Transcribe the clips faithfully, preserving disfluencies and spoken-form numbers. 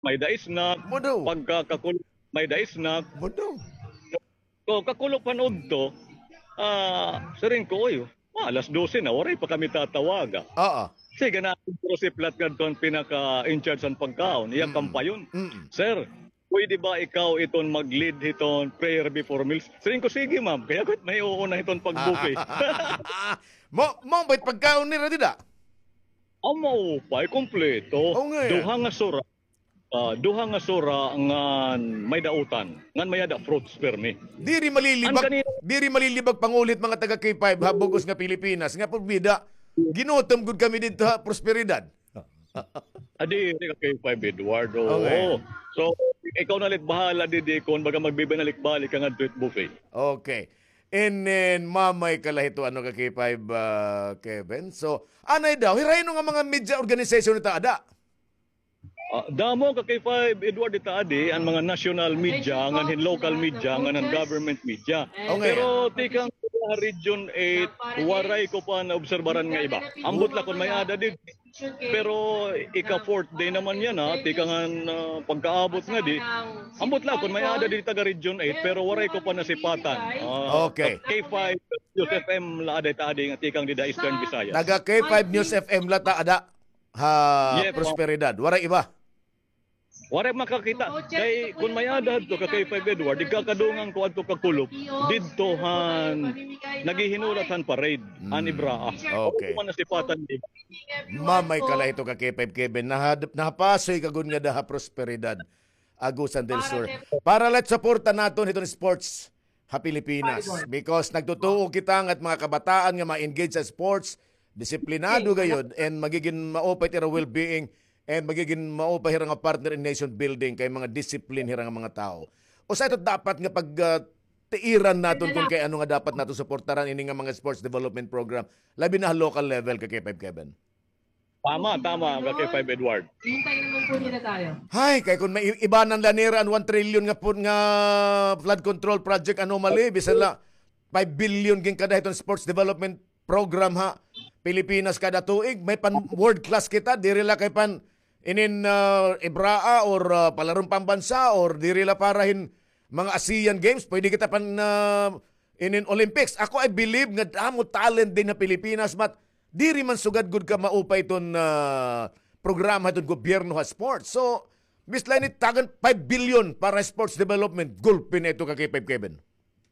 may-ada snack. Mo daw. Pagka kakulop, may-ada snack. Mo daw. So, kakulop han udto, ah, siring ko, "Uy, ah, alas dose na, waray pa kami tatawaga." Oo. Sige na, pero si Plat ngadto an pinaka-in-charge han pagkaon, iya kampayon. Mm. "Sir, pwede ba ikaw iton mag-lead hiton prayer before meals?" Siring ko, "Sige, ma'am." Kay ako it maiuuna hiton pag-buffet. Mo, mo, may pagkaon nira dida? Aw, maupay, kompleto. Oo nga. Duha nga sura. Ah, duha nga sura ngan may-ada utan, ngan may-ada fruits permi. Diri malilibag, diri malilibag panguli it mga taga K five ha bug-os nga Pilipinas, nga porbida, ginutom gud kami didto ha Prosperidad. Ah, diri ka K five, Edward, oo. Okay. So, ikaw na la it bahala didi kon baga magbibinalik-balik ka ngadto it buffet. Okay. And then, mamay ka la hito, ano, ka K five, ah, Kevin. So, anay daw, hira hin-o nga mga media organization it aada? Ah, damo ka K five, Edward, it aadi, an mga national media, ngan hin local media, ngan an government media. Okay. Pero tikang ha Region eight, waray ko pa naobserbaran nga iba. Ambot la kon may-ada didi. Pero ika-fourth day naman yana, tikang han, ah, pagkaabot ngadi. Ambot la kon may-ada didi taga Region eight, pero waray ko pa nasipatan. Ah, okay. K five News F M la aada it aadi nga tikang dida Eastern Visayas. Taga K five News F M la it aada ha Prosperidad. Waray iba. Waray makakita. Kay kon may-ada hadto ka K five Edward, igkakadungan ko adto ka kulop, didto han naghihinulat han parade, an Ibraa. Okay. Ako man nasipatan nila. Mamay ka la hito ka K five Kevin, naha-, nahapasoy ka gud ngada ha Prosperidad, Agusan del Sur. Para la it suporta naton hiton sports ha Pilipinas. Because nagtutuo kita nga it mga kabataan nga ma-engage sa sports, disiplinado gayod, and magigin maupay it ira well-being, and magigin maupay hira nga partner in nation building kay mga discipline hira nga mga tawo. Usa ito dapat nga pag, ah, tiiran naton kon kay ano nga dapat naton suportaran ini nga mga sports development program, labi na ha local level, ka K five Kevin. Tama, tama, ka K five Edward. Hintayin naman po nila tayo. Hay, kay kon may i-, ibanan la nira an one trillion nga pun-, nga flood control project anomaly, bisan la five billion ginkada hiton sports development program ha Pilipinas kada tuig, may pan world class kita, diri la kay pan inin, ah, Ibraa or, ah, palaron pambansa or diri la para hin mga Asian Games, pwede kita pan, ah, inin Olympics. Ako, I believe nga damo talent dinhi ha Pilipinas, but diri man sugad gud ka maupay iton, ah, programa hiton gobyerno ha sports. So, Miss Lenny, tagan five billion para sports development. Gulpi na ito ka K five Kevin.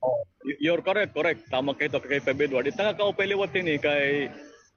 Oh, y-, you're correct, correct. Tama ka ito ka K five Edward. Ita nga kaupay liwat ini kay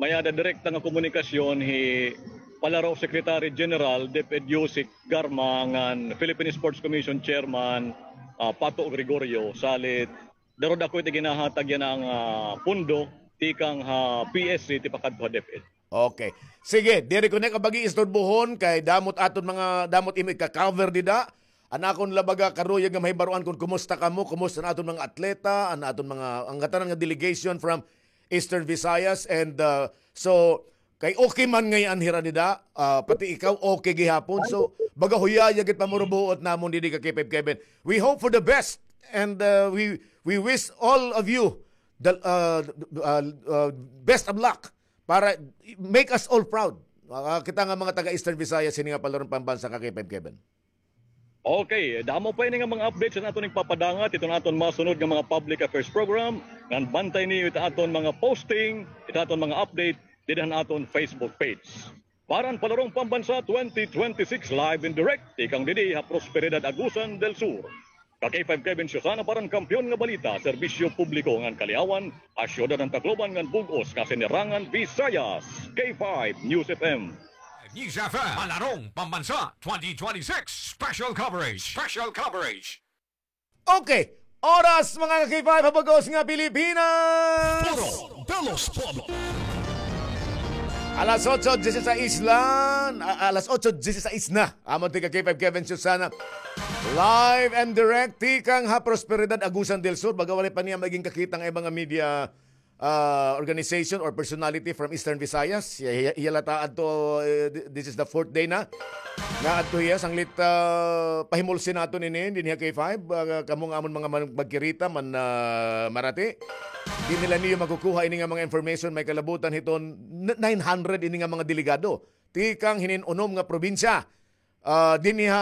may-ada direkta nga komunikasyon hi Palaro Secretary General DepEd Yusek Garma ngan Philippine Sports Commission Chairman, ah, Pato Gregorio, salit daw ako iti ginahatag yana nga, ah, pondo tikang ha P S C tipakadto ha DepEd. Okay. Sige, diri ko na ka pag-iistorbohon kay damo it aton mga, damo it imo ika-cover dida. An akon la baga karuyag nga mahibaroan kon kumusta kamo, kumusta an aton mga atleta, an aton mga, an ngatanan nga delegation from Eastern Visayas, and, uh, so, kay okay man ngay-an hira dida, ah, pati ikaw okay gihapon. So, baga huyaya gid pamurubuot namon didi ka K five Kevin. We hope for the best, and, uh, we, we wish all of you the, uh, uh, uh, best of luck para make us all proud. Ah, kita nga mga taga Eastern Visayas, hini nga palaron pambansa ka K five Kevin. Okay, damo pa ini nga mga updates an aton igpapadangat hiton aton masunod nga mga public affairs program. Ngan bantay niyo it aton mga posting, it aton mga update dida han aton Facebook page. Para han Palarong Pambansa twenty twenty-six live and direct, tikang didi ha Prosperidad, Agusan del Sur. Ka K five Kevin Susana para han Kampiyon nga Balita, Serbisyo Publiko ngan Kaliawan, ha siyudad han Tacloban ngan bug-os nga Sinirangan Visayas. K five News F M. News F M, Palarong Pambansa twenty twenty-six Special Coverage. Special Coverage. Okay. Oras, mga ka K five, ha bug-os nga Pilipinas. Foro de los Pueblos. Alas otso dieciséis la, a-, alas otso dieciséis na. Amo ti ka K five Kevin Susana. Live and direct, tikang ha Prosperidad, Agusan del Sur. Baga waray pa niya magin kakita nga mga media ah, organization or personality from Eastern Visayas. Iya, iya, iya la ta adto, eh, th-, this is the fourth day na. Nga adto hiya, sanglit, ah, pahimulsi naton ini, dinhi ha K five, ah, kamo nga amon mga man-, magkirita, man-, ah, marati. Di nila niyo makukuha ini nga mga information, may kalabutan hiton n-, nine hundred ini nga mga delegado. Tikang hinin unom nga probinsya. ah, dinhi ha